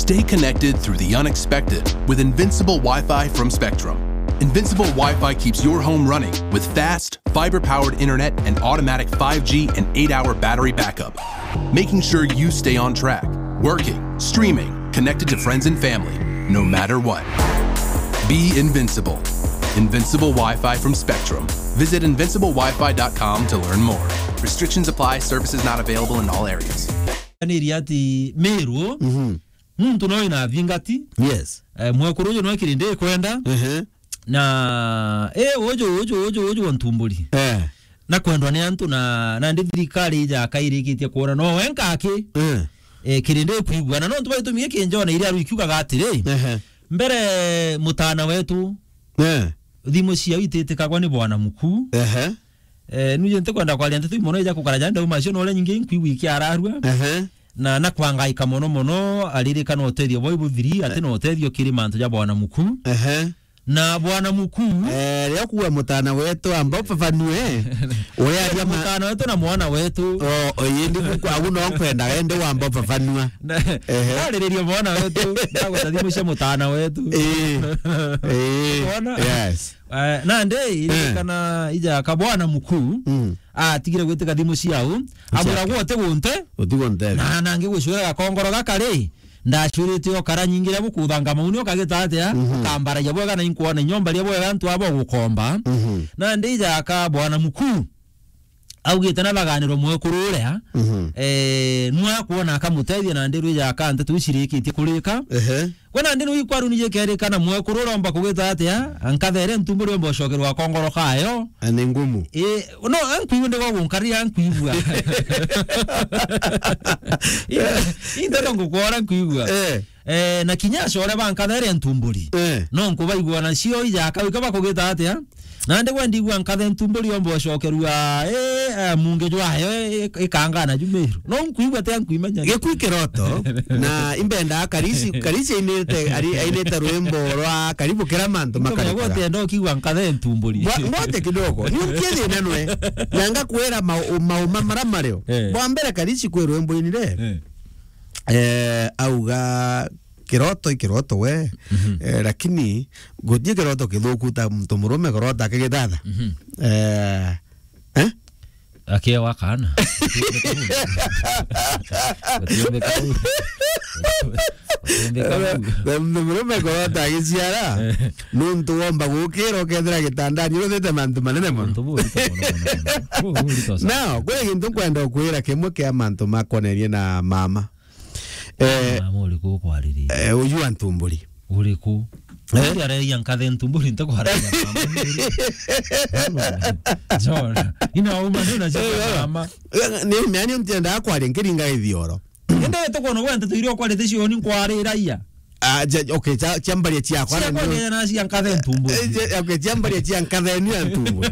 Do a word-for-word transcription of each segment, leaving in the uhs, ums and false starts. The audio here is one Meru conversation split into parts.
Stay connected through the unexpected with Invincible Wi-Fi from Spectrum. Invincible Wi-Fi keeps your home running with fast, fiber-powered internet and automatic five G and eight-hour battery backup, making sure you stay on track, working, streaming, connected to friends and family, no matter what. Be invincible. Invincible Wi-Fi from Spectrum. Visit invincible wi fi dot com to learn more. Restrictions apply. Services not available in all areas. Niri ati Meru, Mhm. muntu no ina thingati. Yes. Eh, mwekuru uju no kirindi ikwenda. Ehe. Na, eh, uju, uju, uju, uju wa Ntumburi. Eh. Na kwendwa ni antu na, na ndi thirikari ija akairikitie kuona no wenka aki. Eh. Eh, kirindi ikwigua. Na no ntu baitumie kinjona iria aru ikiugaga atiri. Ehe. Mbere mutana wetu. Eh. Thimu ciao ititikagwa ni bwana muku. Ehe. Eh, nuje ntikwenda kwaria nteto imono ija kukara janda uma cio no uria nyingi nkwigua ikiararua. Ehe. Na, na kwangaika mono mono, aririkana utethio bwa ibuthiri, ati na utethio kiri mantu ja bwana muku. Ehe. Na bwana muku. Eh, ria kuwa mutana wetu, amba ufafanue. Uria aria ma- mutana wetu na mwana wetu. Oh, oh, indi kuku, agu no nkwenda, ende wamba ufafanua. Na, Ehe. Aririria mwana wetu, ndagweta thimu cia mutana wetu. Eh. Eh. Wona? Yes. Eh, nandi, Eh. iririkana ija ka bwana muku, Mm. atigire gwitika thimu ciao, amwira Ichake. Gwote gunte, Utigo nthe. Na nangi gwicwira gakongoro gaka ri, ndacwirite o kara nyingi ria bukuthanga mauni ukagita atia, Mhm. ukambaragia bwega na inkuona inyomba ria bwega antu abo gukomba. Mhm. Nandi ija ka bwana muku, augite na baganirwa mwekuru uria, Mhm. eh, nwa kuona akamutethia nandi rwija ka nteto icirikitie kurika. Ehe. Gwe nandi nwi kwaru nije kerika na mwekuru uromba kugita atia, ankathere Ntumburi omba ucokerwa kongoro kayo. A, ni ngumu. Eh, no, ankwigua ndi gwa gunkaria ankwigua. Inde, inde no ngukora nkwigua. Eh. Eh, na kinya acore bankathere Ntumburi. Eh. No nkubaigua na cio ija akawika bakugita atia? Nandi gwe ndigua nkathe Ntumburi omba ucokerua, eh, eh, mungi jwayo, eh, ikangana ju Meru. No nkwigua tia nkwimenya. Gikui kiroto, na imbenda Karisi, Karisi ainite, ari, ainite rwimbo rwa Karibu Kira Mantu Makarikaga. Gwote ndo kigua nkathe Ntumburi. Bwa-, ngote kidogo. Ni ukie thina nwe. Na ngakwira mau-, mauma mara mario. Eh. Bwa mbere Karisi kwi rwimbo inire. Eh. Eh, auga kiroto i kiroto we. Mhm. Eh, lakini gutie kiroto kithuku ta muntu murume kurota akigithatha. Mhm. Eh, eh? Akiewa kana. Gutiumbika u. Gutiumbika u. Na muntu murume kurota agiciara, nuntu womba gukira ukethira gitandani uruthite mantu manene mono. Untu buu urito mono, mono, mono. Buu, buu urito sana. Now, kwi gintu nkwenda ukwira kimwe kia mantu makonerie na mama. Eh, mama uriku ukwariria? Eh, uyu wa Ntumburi. Uriku? Eh? Ndi areria nkathe Ntumburi, nte kwariria mama. John, ina uma ndio na Eh, mama. Eh, ni mani ntienda kwaria nkiringa ithioro. Ende tukono gwente tuirio kwarite cioni nkwariraia. Ah, ja-, okay, cha-, chiambaria chiakwa. Cia na kwanja ndio- na cia nkathe Ntumburi. Eh, ja-, okay, chiambaria chia nkathe ni ya Ntumburi.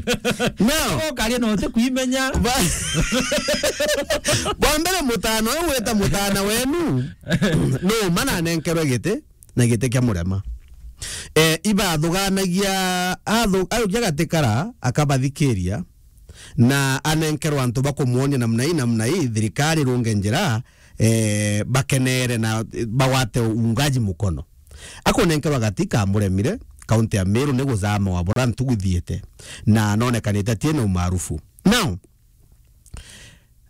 Now, ukaria no te kuimenya. Ba-, bwa mbere mutana uyu wita mutana wenu. No, mana nenkerwe giti, na giti kia murema. Eh, ibathuganagia, athu-, arukia gatikara, akabathikiria, na anenkerwa antu bakumuonia namna hii, namna hii, thirikari runge njira, eh, bakenere na, eh, bagwate uungaji mukono. Akunenkerwa gati kamuremire, kaunti ya Meru ni guzama wa bura ntugu ithiite, na anonekanite atie na umaarufu. Now,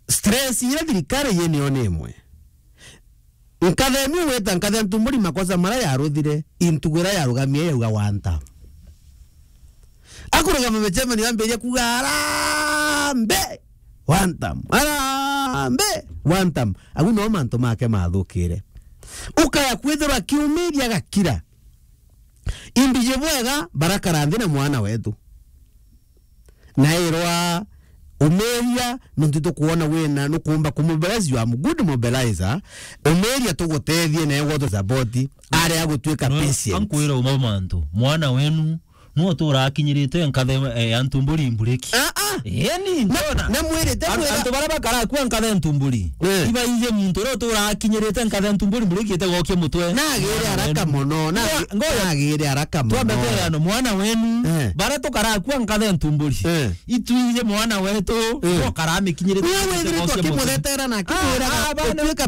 stress iria thirikari yinio ni imwe. Nkathe ni wita nkathe Ntumburi makosa mara yaruthire, intugu iria yarugamie yauga one term. Akurugama micemani yambiria kuga, "Arambe! One term! Arambe! One term!" Agu no mantu make mathukire. Ukaya kwithirwa akiumiria agakira. Imbiji bwega barakara nthi na mwana wetu. Na irwa umiria, nontu tukuona wina nukumba kumobilize, you are a good mobilizer. Umiria tugutethie na ewe tu support, aria gutuika No, patient. Ankwira uma mantu. Mwana wenu, no tura akinyirite nkathe, eh, ya Ntumburi mburiki. Ah, ah. Eni, Na, ndona. Na mwirite An-, mwira antu bara bakara kwa nkathe Ntumburi. Eh. Iba ije muntu ro tura akinyirite nkathe Ntumburi mburiki ite gokia mutwe. Na agire Mwana araka wenu. mono, na Ngoya, ngoya. Na agire araka mono. Twambe kwirano mwana wenu. Eh. Bara tukara kwa nkathe Ntumburi. Eh. Itwije mwana wetu, Eh. Okara amikinyirite Wewe mutwe withirite gokia mutwe. Akimuthetera na akimwira Ah, ah, bana. Utuika